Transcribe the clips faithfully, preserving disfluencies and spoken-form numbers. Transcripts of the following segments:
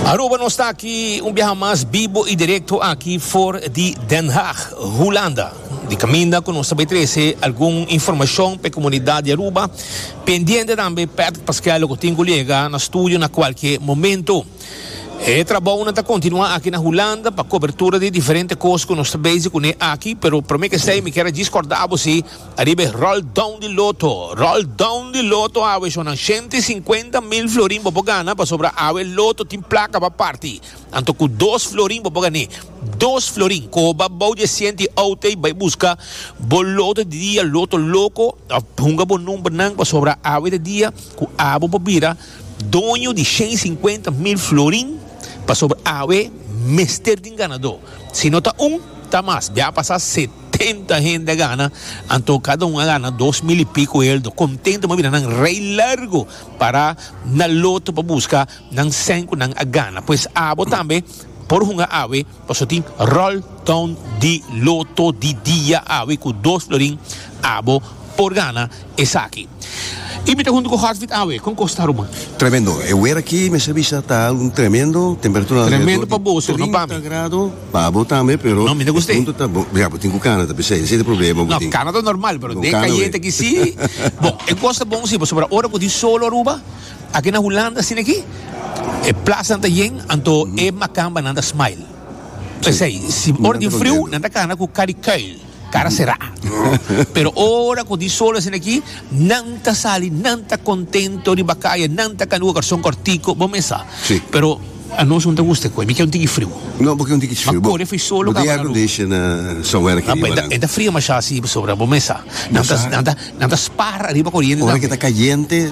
Aruba, nos ta aki un biaha mas bibo y directo aki for di Den Haag, Hulanda. Di caminda cu nos ta trece algun informacion pa e comunidad di Aruba. Pendiente tambe Patrick Pascal cu tin cu yega na studio na cualkier momento. E trabou ta continua aki na Hulanda pa cobertura di diferente cos cu nos ta bezig cu aki, pero prome cu esey mi kier recorda bo ariba roll down di Lotto, roll down di Lotto awe son shen sinkuenta mil florin bo gana, pasobra awe Lotto tin placa pa parti. Anto cu dos florin bo gana, dos florin, coba bou di shen auto y bay busca bo Lotto di dia, Lotto Loco, hunga bo number nan, pasobra awe di dia cu abo bo bira doño di shen sinkuenta mil florin, pasobra awe mester tin ganador. Si no ta un, ta mas. Ya pasa setenta hende gana, anto cada un gana dos mil y pico euro. Contento, m'a mira nan rij largo pa na Lotto pa busca nan cinco nan a gana. Pues abo tambe por hunga awe, paso tin roll down di Lotto di dia awe cu dos florin abo por gana esaki. Y mi ta hunto cu Hartwig awe, con ta Aruba? Tremendo. E weer aki, mi sa ta un tremendo, temperatura Tremendo pa bo, no pa mi. trinta grado, pa bo tambe, pero No, mi no gusta. Punto ta bon. Ja, bo tin cu cana, ta pesey, esey ta e problema. No, cana ta normal, pero den cayente aki si. Bon, e cos ta bon si, pasobra ora cu tin solo Aruba, aki na Hulanda, asina aki, e plaza ta yen, anto e macamba nan ta smile. Pesey, si ora di frio, nan ta cana cu cara kuil, cara sera. Pero ora cu tin solo asina aki, nan ta sali, nan ta contento di bacaya, nan ta cana carson cortico, bon mesa. Si. Pero anos no ta gusta cu, mi kier un tiki frio. No, pasobra un tiki frio. Ma core foi solo. Bo air condition uh, somewhere aki. No, e ta frio mas asina, sobra bon mesa. Nan ta nan ta nan ta spaar ariba coriente. Ora cu ta cayente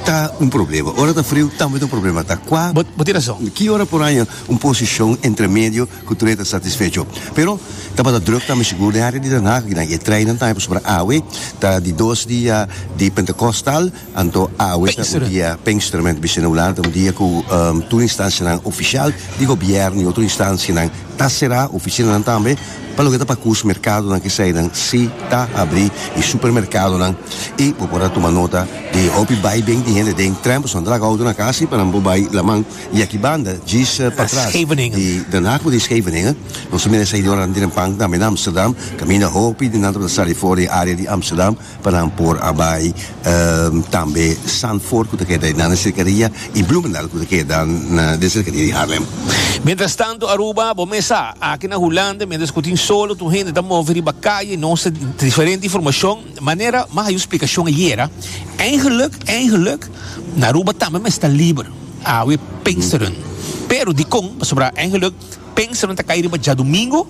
ta un problema. Ora ta frio tambe ta un problema. Ta cua Bo bo tin rason. Ki ora por aña un posicion entre medio cu tur ta satisfecho. Pero tabata druk tambe sigur den area di Den Haag, na e trein tambe pasobra awe ta di dos dia di Pentecostal, anto awe ta un dia Pinksteren bisa na Hulanda, un dia cu um, tur instancianan oficial di gobierno y otro instancianan ta sera, oficinanan tambe, pa loke ta pa cos mercadonan cu nan si ta habri y supermercadonan y bo por a tuma nota di hopi bay bin di hende den tram, pasobra nan auto na cas pa nan bay laman y aki banda djis uh, patras Scheveningen. Di Den Haag di Scheveningen. Nos tambe sa ora den pan tambe na Amsterdam, caminda hopi di nan ta sali for di area di Amsterdam pa nan por a bay um, tambe Zandvoort cu ta keda na cercania y Bloemendaal cu ta keda na den cercania di Haarlem. Mientras tanto, Aruba, bo mesa, aki na Hulanda, mientras cu tin solo, tur hende ta move riba caya, nos diferente informacion, manera, mas e explicacion ayera, eigenlijk, eigenlijk, na Aruba tambe ta liber, awe Pinksteren. Pero di con, pasobra eigenlijk, Pinksteren ta cay riba diadomingo,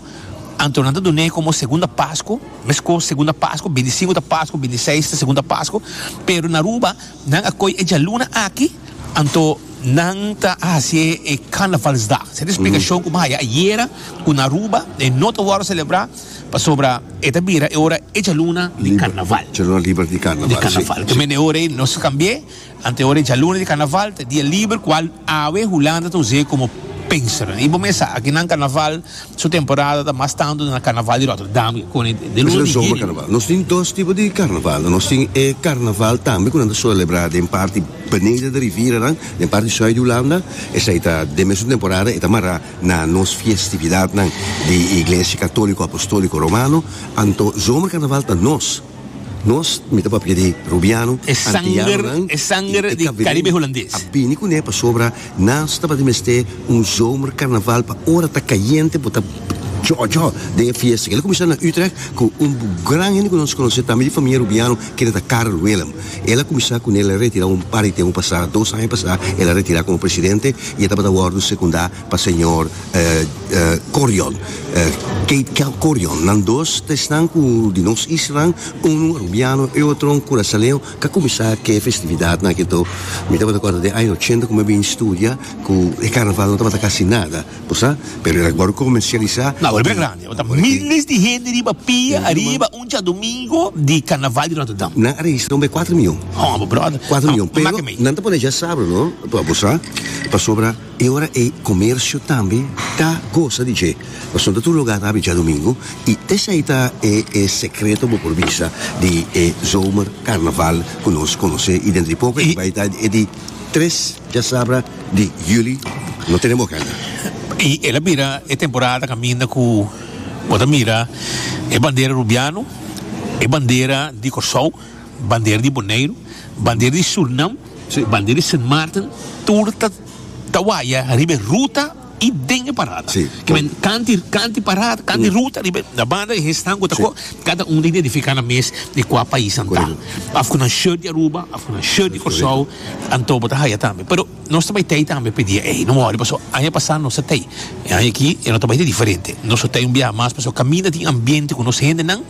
anto nan ta dun'e como segunda Pasco, mesco segunda Pasco, binticinco ta Pasco, bintiseis ta segunda Pasco, pero na Aruba, nan a coy e dialuna aki, anto nan ta haci e Carnavalsdag. Esey ta e explicacion cu m'a haya ayera cu na Aruba e no ta wordo celebra pasobra e ta bira e ora e dialuna di Carnaval. Dialuna liber di Carnaval. Di Carnaval. Si. Tambe ora nos cambia, anto ora dialuna di Carnaval, ta dia liber cual awe Hulanda ta usa como Pinksteren. Y bo mesa, aki na Carnaval, su temporada ta mas tanto na Carnaval di Rotterdam, cu de Mas luna e di zomer juli. Carnaval. Nos tin dos tipo di Carnaval. Nos tin e Carnaval tambe cu nan celebra den parti beneden di rivier dan, den parti zuid di Hulanda. Esey ta den mesun temporada, e ta mara na nos festividadnan di Iglesia Catolico Apostolico Romano. Anto zomercarnaval ta nos. Nos, mi ta papia di Rubiano, E sanger, e sanger di Caribe Hulandes. A bini cu ne pasobra nas tabata mester un zomercarnaval pa ora ta cayente bo ta jo jo den fiesta. El a cuminsa na Utrecht cu un gran hende cu nos conoce tambe di famia Rubiano, cu ta Karel Willem. El a cuminsa cu el a retira un par di tempo pasa, dos aña pasa, el a retira como presidente y e tabata wordo secunda pa señor eh, eh, Corion. Eh, Kate Corion. Nan dos ta esnan cu di nos isla, un Rubiano y otro un Curaçaoleño, cu a cuminsa cu e festividadnan cu to. Mi tabata corda den aña ochenta cu mi a bin studia, cu e carnaval no tabata casi nada, bo pero el a wordo comercialisa. No, awor grandi. Ta miles di hende riba pia, ariba un diadomingo di Carnaval di Rotterdam. Nan a registra un kuater miyon. Oh, brother. kuater miyon. Pero Maak mee. Nan ta pone diasabra, no? Pa bo sa, pasobra e ora e comercio tambe ta goza di dje. Pasobra tur lugar ta diadomingo y esey ta e, e secreto, bo por bisa, di e zomer carnaval cu nos conoce y dentro di poco E- bay ta e di tres diasabra di juli. No tenemos agenda. Y el a bira e temporada caminda cu bo ta mira e bandera Rubiano, e bandera di Corsou, bandera di Boneiro, bandera di Surinam, Si. bandera di Sint Maarten, tur ta ta waya riba ruta y den e parada. Si. Kiermen cant'i cant'i parada, cant'i ruta riba na banda e stan cu ta Si. cada un ta identifica nan mes di cua pais nan ta. Correcto. Of cu nan shirt di Aruba, of cu nan shirt di Corsou, anto bo ta haya tambe. Pero nos tambe tin tambe pa e dia ey, no worry, paso aña pasa nos tin. E aña aki e no tambe diferente. Nos tin un biaha mas, paso caminda tin ambiente cu nos hendenan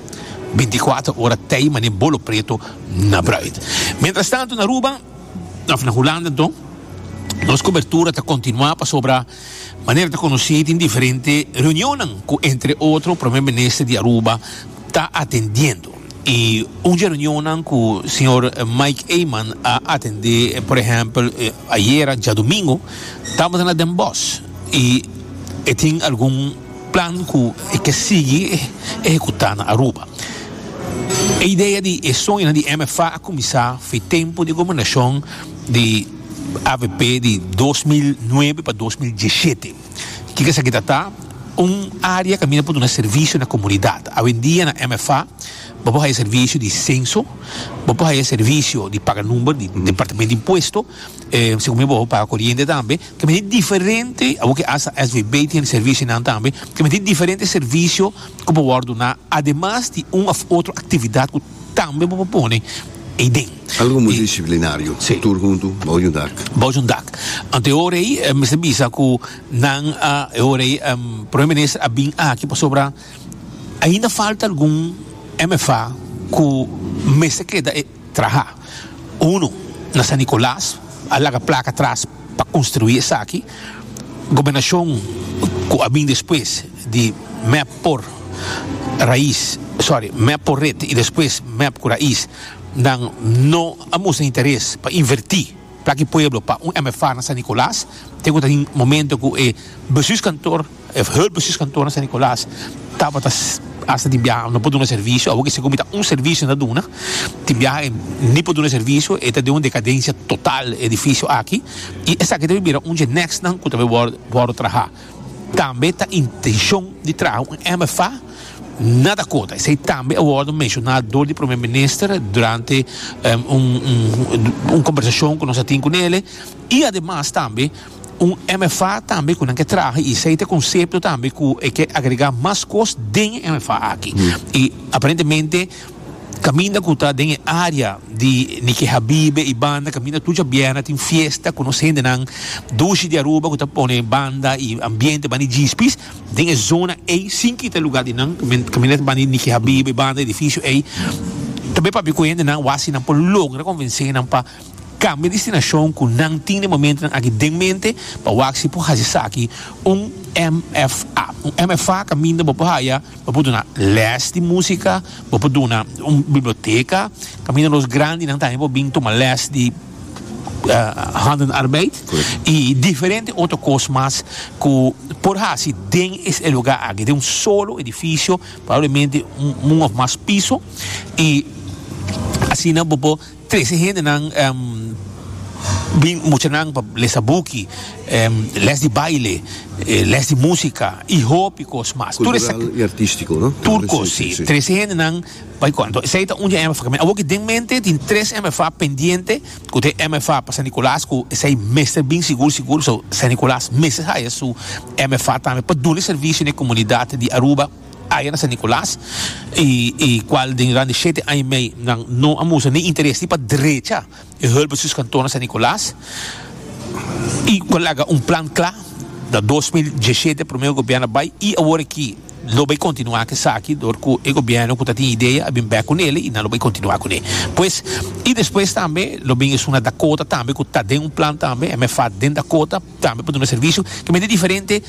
binticuater ora tin mane bolo preto na bruid. Mientras tanto na Aruba, of na Hulanda anto, nos cobertura ta continua pasobra manera ta conoci tin diferente reunion cu entre otro Prome Minister di Aruba ta atendiendo. Y un reunion cu señor Mike Eman a atende, por ehempel, ayera, diadomingo, tabata na Den Bosch. Y e tin algun plan cu e kier sigui ehecuta na Aruba. E idea di e soño di M F A a cuminsa for di tempo di gobernacion di A V P di dos mil nuebe pa dos mil diesshete. Kico esaki ta? Un area cu caminda por duna servicio na comunidad. Awendia na M F A, bo por haya servicio di censo, bo por haya servicio di paga number, di departamento di impuesto, eh, segun bo paga coriente tambe, cu tin diferente, aunke hasta S V B tin servicionan tambe, cu tin diferente servicio cu por duna, ademas di un of otro actividad cu tambe bo por pone ey. Algo multidisciplinario. Si. Tur hunto, bou di un dak. Bou di un dak. Anto ora ey, mi bisa cu nan a ora ey, um, Prome Minister a bin aki pasobra ainda falta algun M F A cu mester keda e traha. Uno, na San Nicolas, a laga placa atras pa construi esaki. Gobernacion cu a bin despues di M E P por Raiz, sorry, M E P por Red y despues M E P cu Raiz, nan no a mustra interes pa inverti pa cu pueblo pa un M F A na San Nicolas. Tin un momento cu e bestuurskantoor, e hulpbestuurskantoor na San Nicolas, tabata hasta tin biaha no por duna servicio, awor cu segun un servicio na duna, tin biaha ni por duna servicio, e ta den un decadencia total edificio aki, y esaki ta bira un next nan cu tambe wordo traha. Tambe ta intencion di traha un M F A na Dakota. Esey tambe a wordo menciona door di Prome Minister durante um, un, un, un combersacion cu nos tin cu ne. Y ademas tambe un M F A tambe cu nan kier traha y esey ta concepto tambe cu e kier agrega mas cos den M F A aki. Y aparentemente caminda cu ta den area di Nike Habibe y banda caminda tur diabierna tin fiesta cu nos hendenan dushi di Aruba cu ta pone banda y ambiente banda djispis den zona ey sin kita lugar di nan caminda banda Nike Habibe, banda edificio ey tambe pa cu hendenan wak si nan por logra convence nan pa cambia destinacion cu nan tin na momento aki den mente pa wak si por haci esaki un M F A. Un M F A caminda bo por haya, bo por duna les di musica, bo por duna un biblioteca, caminda nos grandinan tambe por bin tuma les di uh, handenarbeid y diferente otro cos mas cu por haci den e lugar aki, den un solo edificio, probablemente un, un of mas piso y asina bo por trece hendenan um, bin muchanan pa lesa buki, um, les di baile, eh, les di musica y hopi cos mas. Tur Cultural y artistico, no? Tur cos, si. Trece hendenan bay cuanto. Esey ta un M F A. Awor cu den mente tin tres M F A pendiente, cu tin M F A pa San Nicolas, cu esey mester bin sigur sigur, so San Nicolas mester haya su M F A tambe pa duna servicio na comunidad di Aruba aya na San Nicolas y y cual den durante shete aña y mey nan no a mustra ni interes ni pa drecha e hulpbestuurskantoor na San Nicolas y cu laga un plan cla da dos mil diesshete prome gobierno bay y awor aki lo bay continua cu esaki door cu e gobierno cu tin idea a bin back cu ne y nan lo bay continua cu ne. Pues y despues tambe lo bin esun na Dakota tambe cu ta den un plan tambe M F A den Dakota tambe pa duna servicio cu ta diferente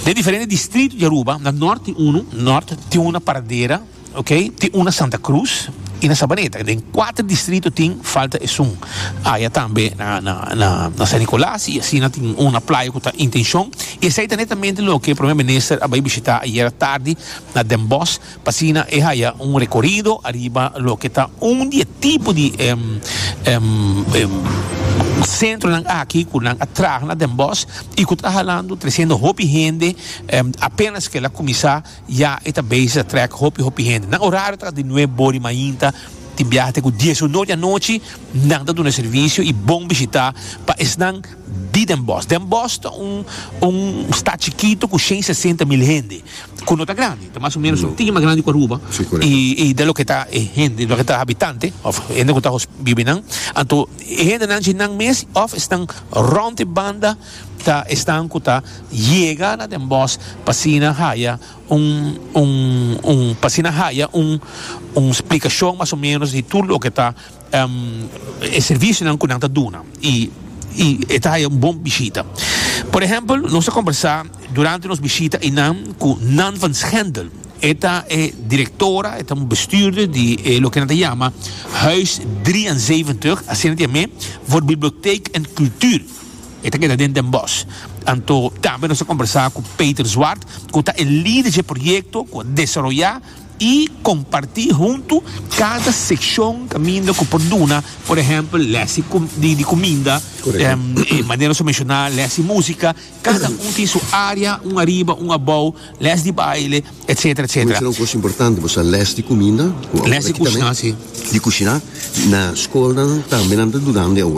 den diferente distrito di Aruba. Na Noord tin uno, Noord tin un Paradera, ok, tin un Santa Cruz y na Sabaneta. Den cuater distrito tin, falta esun aya tambe na na na na San Nicolas y asina tin un Playa cu ta intencion y esey ta netamente loke Prome Minister a bay bishita ayera tardi na Den Bosch pa asina e haya un recorido ariba loke ta un di tipo di um, um, um, Centronan aki ku nan a traha na Den Bosch i ku ta halando, tresiendo hopi hende. um, apenas ku el a kuminsá, ya e ta bezig trek hopi hopi hende. Nan horario ta di nuebe or di mainta tin biaha te ku dies or di anochi. Nan ta duna servisio i bon bishitá pa esnan di Den Bosch. Den Bosch ta un un stad chikitu ku shen sesenta mil hende, ku no ta grandi, ta mas o ménos un tiki mas grandi ku Aruba. Si, korekto. I, i di loke ta e hende, loke ta habitante, òf hende ku ta biba nan. Anto, hende nan nan mes, òf esnan rònt e banda, ta esnan ku ta yega na Den Bosch pa asina haya un un un pa asina haya un un splikashon mas o ménos di tur loke ta um, e servisionan ku nan ta duna i i ta un bon bishita. Por ehèmpel, nos a kombersá durante nos bishita einan ku Nan van Schendel. E ta e direktora, e ta un bestuurder di eh, loke nan ta yama Huis drieënzeventig, asina ta yam'é, voor bibliotheek en cultuur. E ta keda den Den Bosch. Anto, tambe nos a kombersá ku Peter Zwart, ku ta e lider di proyekto, ku a desaroyá i kompartí huntu kada sekshon kaminda ku por duna, por ehèmpel, les di, di kuminda, Korekto. um, e manera ku menshoná, les di músika, kada un tin su área, un ariba, un abou, les di baile, et cetera, et cetera. Esei ta un kos importante, bo les di kuminda. Les di kushina, si. Di kushina, na skol tambe nan ta dunando awor.